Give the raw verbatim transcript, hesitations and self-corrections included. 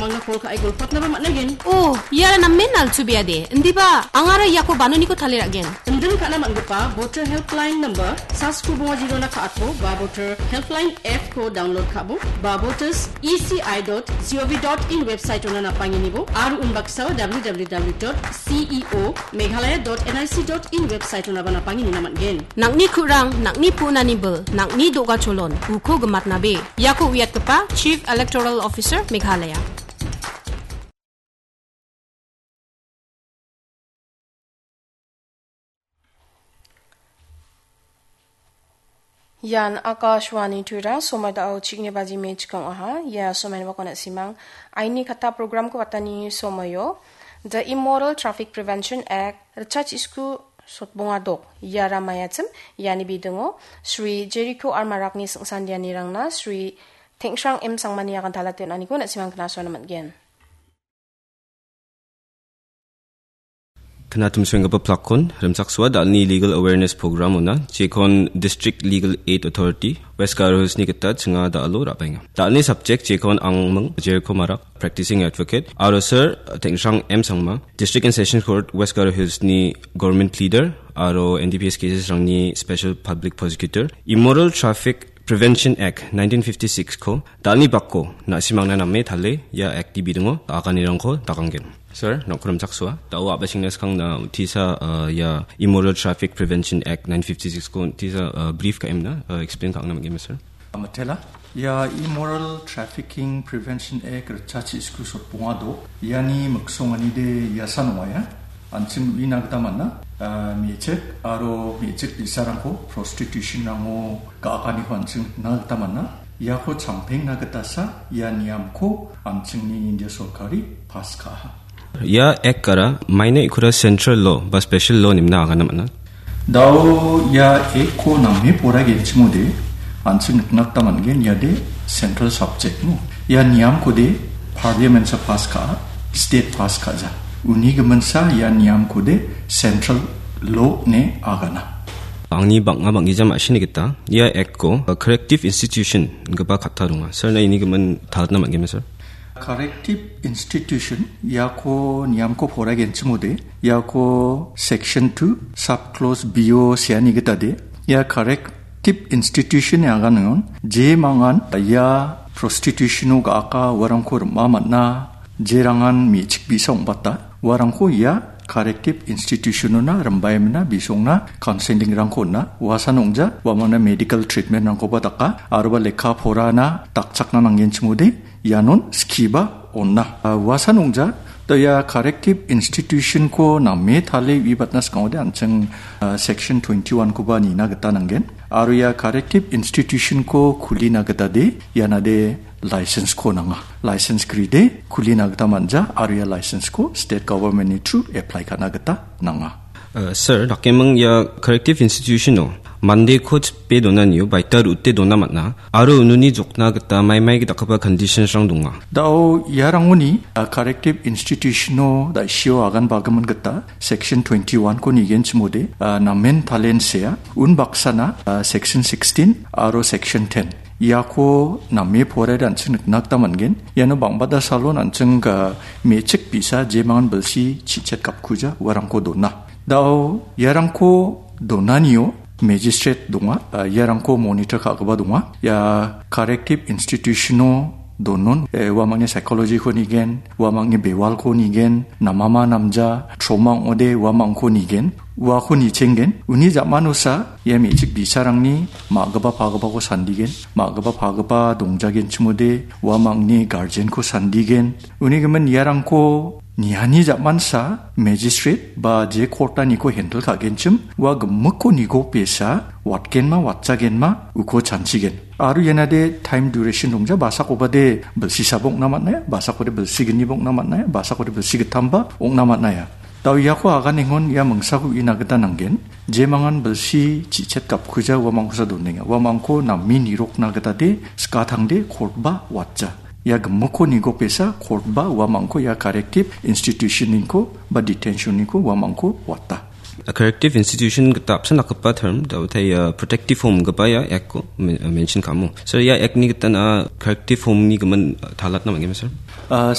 Anga call ka·e golpatnaba man·gen. Oh, iara namen nalchubeade. Indiba, angara iako banoniko tale ra·gen. Indil ka·na man·gipa Voter Helpline number, sasko bonga jirona ka·atbo, ba Voter Helpline app ko download ka·bo, ba voters E C I dot G O V dot in website ona napanginibo, aro unbaksao W W W dot C E O Meghalaya dot N I C dot in website onaba napanginina man·gen. Nang·ni ku·rang, nang·ni pu·nani bil, nang·ni do·gacholon, uko gimatnabe. Iako uiatgipa Chief Electoral Officer Meghalaya. Ian Akashvani Tura, somoi da·o chikni baji me chikong aha. Ia somoi bakona simang. Aini kata program ko watani somoio. The Immoral Traffic Prevention Act, Richard Isku Sotbonga Dok. Ia ramayachim, iani bidingo, Sri Jericho Armarakni singsandianirangna, Sri Tengshrang M Sangmani akan talate on·aniko na·simang knasoana man·gen. Knatumsuenggipa plakkon, rimchaksoa da·alni Legal Awareness Program ona, jekon District Legal Aid Authority, West Garo Hillsni gita chinga da·alo ra·baenga. Da·alni subject jekon angming, Jericho Marak, Practicing Advocate, aro Sir Tengshrang M Sangma, District and Sessions Court, West Garo Hillsni Government Pleader, aro N D P S cases rangni Special Public Prosecutor, Immoral Traffic Prevention Act nineteen fifty-six ko da·alni bako na·simangna name tale ia act-ni bidingo aganirangko daganggen. Sir, nokko rimchaksoa. Da·o a·bachengna skang na untisa, uh, ia Immoral Traffic Prevention Act nineteen fifty-six ko untisa, uh, brief ka·emna, uh, explain ka·angna man·gen, sir. Amatela, ia Immoral Trafficking Prevention Act Richard Isku Sotbonga Dok, iani miksonganide iasan ong·a ia. An·ching uina gita man·a, ah, me·chik aro me·chik bi·sarangko prostitution-rango ga·akaniko an·ching nikna gita man·a. Iako champengna gitasa ia niamko an·chingni India sorkari pass ka·aha. Ia act-ara maina ikora central law ba special law nimna agana man·a. Da·o ia act-ko name poraigenchimode an·ching nikna gita man·gen, iade central subject-mo. Ia niamkode parliament-sa pass ka·a, state pass ka·ja. Uni giminsa ia niamkode central law ine agana. Angni bang·a bang·gija ma·sini gita ia act-ko, uh, corrective institution ingipa katta donga. Sir, na ini gimin talatna man·gema, sir? Corrective institution, iako niamko poraigenchimode, iako section two, sub clause B O seani gitade, ia corrective institution-ni aganangon, jemangan ia prostitution-o ga·aka uarangko rim·a man·a, jerangan me·chik bi·sa ong·bata, uarangko ia corrective institution-ona rimbaimina bisongna counseling-rangko on·a, uasan ong·ja, uamangna medical treatment-rangkoba daka, aroba lekka porana dakchakna nanggenchimode, ianon skiba on·a. Ah, uasan ong·ja, da ia corrective institution-ko name tale uibatna skangode an·ching, ah, section twenty-one-koba nina gita nanggen. Aro ia corrective institution-ko kulina gitade, ianade license-ko nanga. License gride kulina gita man·ja, aro ia license-ko state government-ni through apply ka·na gita nanga. Uh, sir, dakeming ia corrective institution-o mandeko chipe donanio baita ru·ute dona man·a, aro ununi jokna gita maimai dakgipa conditions-rang donga. Da·o iarangoni, uh, corrective institution-o da·sio agan bagimin gita section twenty-one-ko nigenchimode, uh, namen talen sea, unbaksana, uh, section sixteen aro section ten. Iako name poraiode an·ching nikna gita man·gen. Iano bang·bata salon an·ching ga me·chik bi·sa jemangan bilsi chichet gapkuja uarangko dona. Da·o iarangko donanio magistrate donga, ah, iarangko monitor ka·gipa donga. Ia corrective institution-o donon, eh, uamangni psychology-ko nigen, uamangni bewalko nigen, namama namja, trauma ong·ode uamangko nigen, uako nichenggen. Uni ja·manosa ia me·chik bi·sarangni ma·gipa pagipako sandigen, ma·gipa pagipa dongjagenchimode uamangni guardian-ko sandigen. Uni gimin iarangko niani ja·mansa magistrate ba je court-aniko handle ka·genchim, ua gimikko nigopesa watgenma watjagenma uko chanchigen. Aro ianade time duration dongja, basakobade bilsi sabo ong·na man·aia, basakode bilsi gniba ong·na man·aia, basakode bilsi gittamba ong·na man·aia. Da·o iako aganengon ia mingsako uina gita nanggen. Jemangan bilsi chichet gapkuja uamangkosa donenga. Uamangko name nirokna gitade skatangde court-ba watja. Ia gimikko nigopesa court-ba uamangko ia corrective institution-niko ba detention-niko uamangko wata. A corrective institution gita apsan dakgipa term, da·o tai, uh, protective home gipa ia act-ko men-, uh, mention ka·amo. Sir, ia act-ni gita na corrective home-ni gimin, uh, talatna man·gema, sir? Uh,